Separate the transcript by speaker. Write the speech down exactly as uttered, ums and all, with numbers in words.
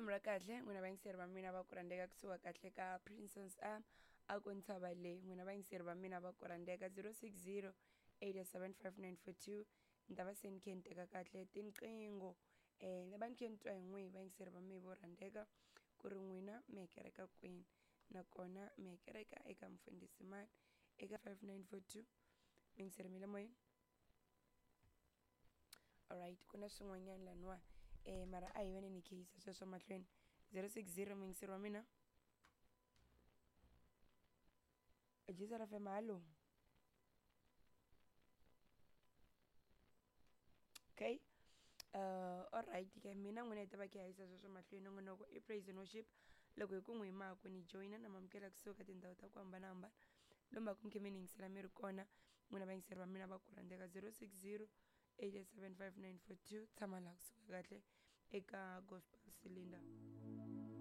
Speaker 1: Risimu ra kahle n'wina vayingiseri va mina va ku rhandzeka kusuka kahle ka Princess M a ku ntshava leyi n'wina vayingiseri va mina va ku rhandzeka zero six zero eight seven five nine four two ni ta va se ni khe ni teka kahle tinqingho um ni va ni khe ni twa hi n'wihi vayingiseri va mina vo rhandzeka ku ri n'wina mi hekereka kwini nakona mi hekereka eka mfundhisi mani eka five nine four two muyingiseri mi le moyeni. Alright, ku na swin'wanyana laniwa eh mara a hi veni ni kheyisa sweswo mahlweni zero six zero muyingiseri wa mina Jizara F M hallo. Okay, uh alright ke mina n'wina hi ta va khe hi yisa sweswo mahlweni nongonoko i praise and worship loko hi ku n'wi maku ni joyina na mamukela kusuka tindhawu ta ku hambanahambana lomu ku mi khe mi ni yingisela mi ri kona n'wina vayingiseri va mina va ku rhandzeka zero six zero eight seven five nine four two tshama laha kusuka kahle eka Gospel Cylinder.